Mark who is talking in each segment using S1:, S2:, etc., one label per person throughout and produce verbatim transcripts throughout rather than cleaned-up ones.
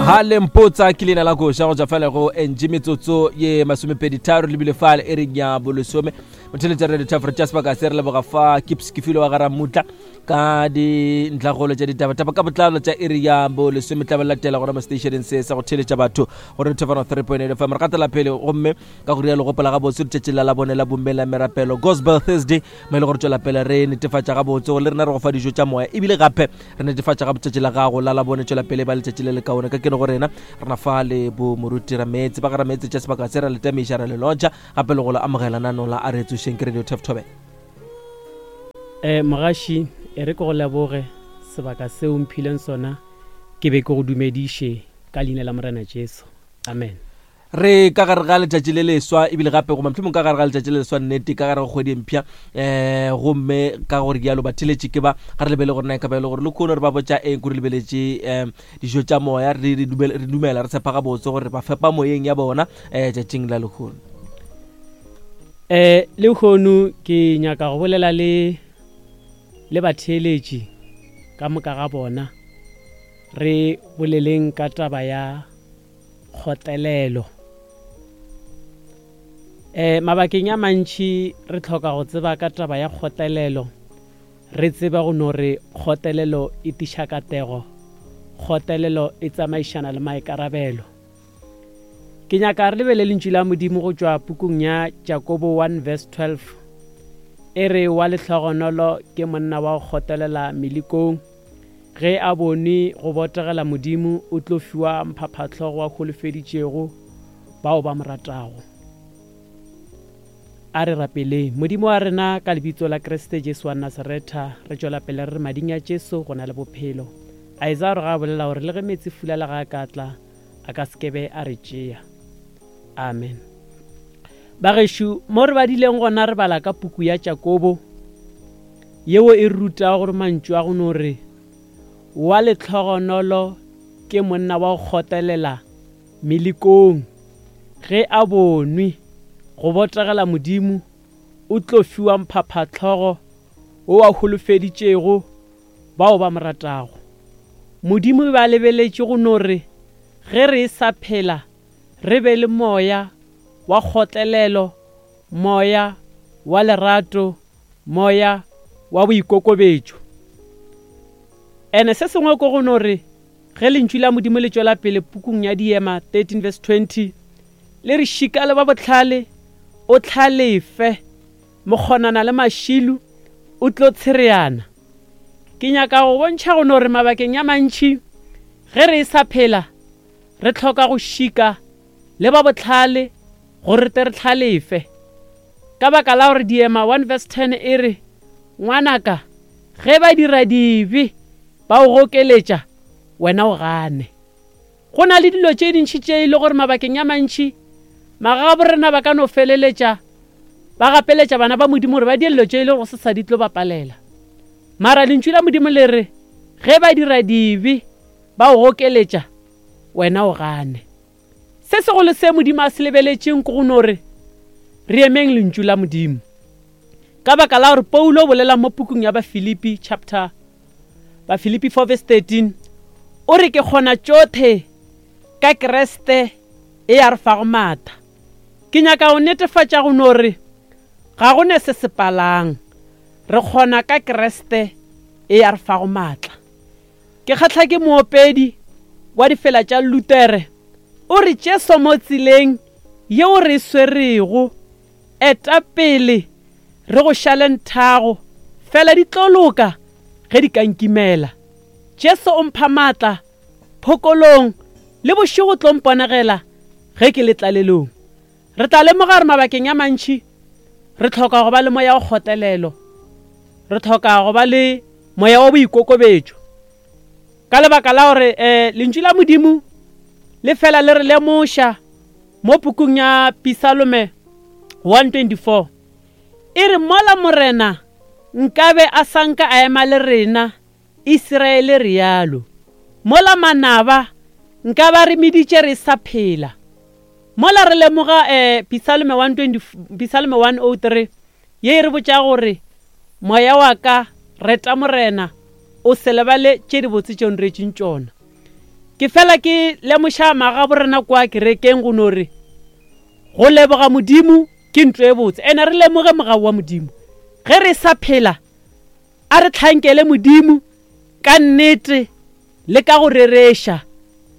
S1: Ha le mpotsa ke leina la koša go tšwa fela go N G metsotso ye masomepedi tharo lebile fale e reng ya bolesome. Motheletša Radio Tafra tša sebaka se re leboga fa ke Psikifilo wa Garamutla ka dintlhagolo tša ditabataba ka botlalo tša iri ya bolesome tla ba latela gona mo stationeng se sa go theletša batho go Radio Tafra three point eight F M. Re gatela pele gomme ka go rialo gopola gabotse letšatši la labone la bomme la merapelo Gospel Thursday, mo e le gore tšwela pele re netefatša gabotse gore le rena re go fa dijo tša moya, ebile gape re netefatša ga letšatši la gago la labone tšwela pele ba letšatši le lekaone. Ka keno go rena rena fa le bo moruti Rametse ba ga Rametse tša sebaka se ra le tamiša ra le lotša gape le go le amogela nano la a re tsošeng ke Radio Tef Thobela.
S2: Eh, mogaši, e re ke go leboge sebaka seo mphileng sona, ke be ke go dumediše ka leina la Morena Jesu. Amen.
S1: Re ka gare ga letšatši le leswa, ebile gape goba mohlomong ka gare ga letšatši le leswa nnete ka gare ga kgwedi e mpsha, eh, gomme ka gore dialo ba theletše ke ba ga re lebele gore na e ka ba e le gore le kgono re ba botša eng, kore lebeletše, eh, dijo tša moya, re, re dumela, re dumela re tshepa gabotse gore ba fepa moyeng ya bona, eh, tšatšing la lehono.
S2: Eh, lehono ke nyaka go bolela le, le batheeletši ka moka ga bona, re boleleng ka taba ya kgotelelo. Eh, mabakeng a mantši re tlhoka go tseba ka taba ya kgotelelo, re tseba go no re kgotelelo e tiša katego, kgotelelo e tsamaišana le maikarabelo. Ke nyaka re lebele lentšu la Modimo go tšwa pukung ya Jakobo one verse twelve. E re wa lehlogonolo ke monna wa go kgotelela melekong, ge a bone go botegela Modimo o tlo fiwa mphaphatlhogo wa holofeditšego bao ba mo ratago. A re rapeleng. Modimo wa rena, ka lebitso la Kriste Jesu wa Nasaretha, re tšwela pele re re mading a Jesu go na le bophelo. Isaiah re ga bolela gore le ge metsi fula le ga a ka tla, a ka sekebe a re tšea. Amen. Bagešo, mo re badileng gona re bala ka puku ya Jakobo, yeo e rutago gore mantšu a go no re wa lehlogonolo ke monna wa go kgotelela melekong, ge a bonwe go botegela Modimo o tlo fiwa mphaphatlhogo wo a holofeditšego bao ba mo ratago. Modimo ba lebeletše go no re ge re sa phela re be le moya wa kgotlelelo, moya wa lerato, moya wa boikokobetšo. Ene se sengwe ko go no re ge lentšu la Modimo le tšwela pele pukung ya Diema thirteen verse twenty, le re šika le ba bohlale o hlalefe, mokgonana le mašilu o tlo tshereana. Ke nyaka go bontšha go no re mabakeng a mantši ge re sa phela re tlhoka go šika le ba bohlale gore te re hlalefe. Ka baka la gore Diema one verse ten e re, ngwanaka, ge ba dira dibe ba o gokeletša, wena o gane. Go na le dilo tše dintši tše e le gore mabakeng a mantši magabo rena ba ka no feleletša ba gapeletša bana ba Modimo gore ba die dilo tše e le gore se sa di tlo ba palela. Mara lentšu la Modimo le re ge ba dira dibe ba o gokeletša, wena o gane. Se segolo se Modimo a se lebeletšeng ke go no re re emeng lentšu la Modimo. Ka baka la gore Paulo o bolela mo pukung ya Bafilipi chapter Bafilipi four verse thirteen, o re ke kgona tšohle ka Kriste e a re fago maatla. Ke nyaka go netefatša go no re ga go ne se se palang, re kgona ka Kriste e a re fago maatla. Ke kgahla ke moopedi wa difela tša Lutere, o re Jesu mo tseleng yeo re e swerego, eta pele re go šale nthago, fela di tlo loka ge di ka nkimela. Jesu o mpha maatla phokolong, le bošego tlo mponegela ge ke le tlalelong. Re tla lemoga gore mabakeng a mantši re tlhoka go ba le moya wa kgotelelo, re tlhoka go ba le moya wa boikokobetšo. Ka lebaka la gore, eh, lentšu la Modimo le fela le re lemoša mo pukung ya Psalme one twenty-four, e re mola Morena nkabe a sanka a ema le rena, Israele rialo. Mola manaba nka ba re meditše re sa phela. Mola re lemoga, eh, Psalme one twenty, Psalme one oh three, ye e re botša gore moya wa ka reta Morena, o se lebale tše dibotse tše o nretšeng tšona. Ke fela ke lemoša magabo rena kwa kerekeng go no re go leboga Modimo ke ntlo e botse. Ene re lemoge mogau wa Modimo. Ge re sa phela, a re tlhankele Modimo ka nnete le ka go rereša,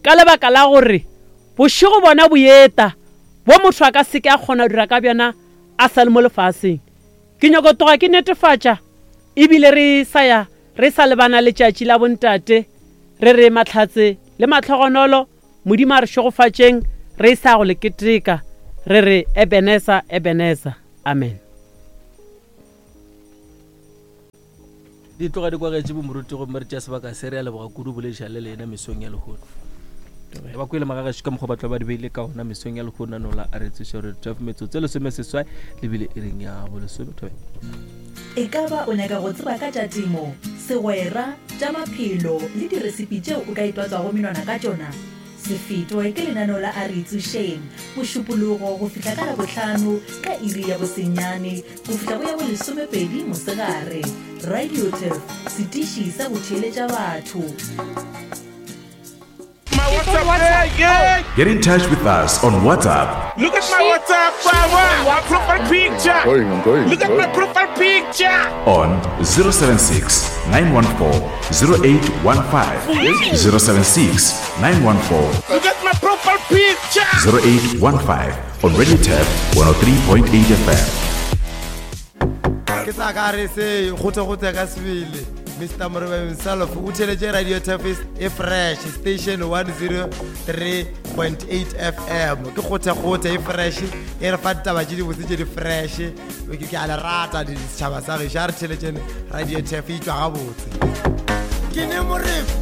S2: ka lebaka la gore bošego bona bo eta bo motho a ka seke a kgona go dira ka bjona a sa le mo lefaseng. Ke nyako tloga ke netefatša ebile re sa ya re sa lebana letšatši la bontate, re re mahlatse le mahlogonolo, Modimo a re šegofatšeng, re sa go le keteka, re re Ebeneza, Ebeneza, amen.
S1: Di tloga di kwagetše bomoruti gomme re tšea sebaka se re a leboga kudu bolediša le lena mesong ya lehono. Le ba kwele magagešo ka mokgwa ba tla ba di beile ka ona mesong ya lehono nola a re tseša gore twelve metsotso e lesome seswai lebile e reng ya bolesome thobe.
S3: E ka ba o nyaka go tseba ka tša temo, segwera, tša maphelo le diresipi tšeo o ka itwatswago menwana ka tšona? Se fetwe ke lenaneo la A Re Itsošeng, Mošupologo go fihla ka Labohlano ka iri ya bosenyane go fihla go ya bolesomepedi mosegare. Radio Turf, setiši sa go theeletša batho.
S4: My WhatsApp, yeah, yeah.
S5: Get in touch with us on WhatsApp.
S4: Look at my WhatsApp, power. My profile picture.
S6: I'm going, I'm going.
S4: Look at my profile picture.
S5: On zero seven six, nine one four, zero eight one five. zero seven six, nine one four.
S4: Look at my profile picture.
S5: zero eight one five on Radio Turf one oh three point eight F M.
S7: Ke sa ka re se go tse go tse ka sebele. Mister Morobe himself o theletše Radio Turf e fresh station one zero three point eight F M. Ke kgothe kgothe e fresh e re fa ditaba tše dibotse tše di fresh. Ke ke a le rata di setšhaba sa gešo, a re theletšeng Radio Turf e tšwa gabotse. Ke ne Morebe.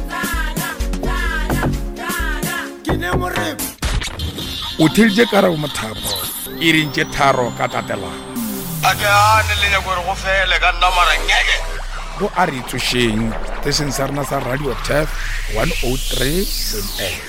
S7: Ke ne Morebe.
S8: O theleditše Karabo Mothapo e reng tše tharo ka tatelano.
S9: A ke gane le nyako gore go fele ka nna mara ngeke.
S8: Go a re tsošeng station sa rena sa Radio Turf one oh three point eight.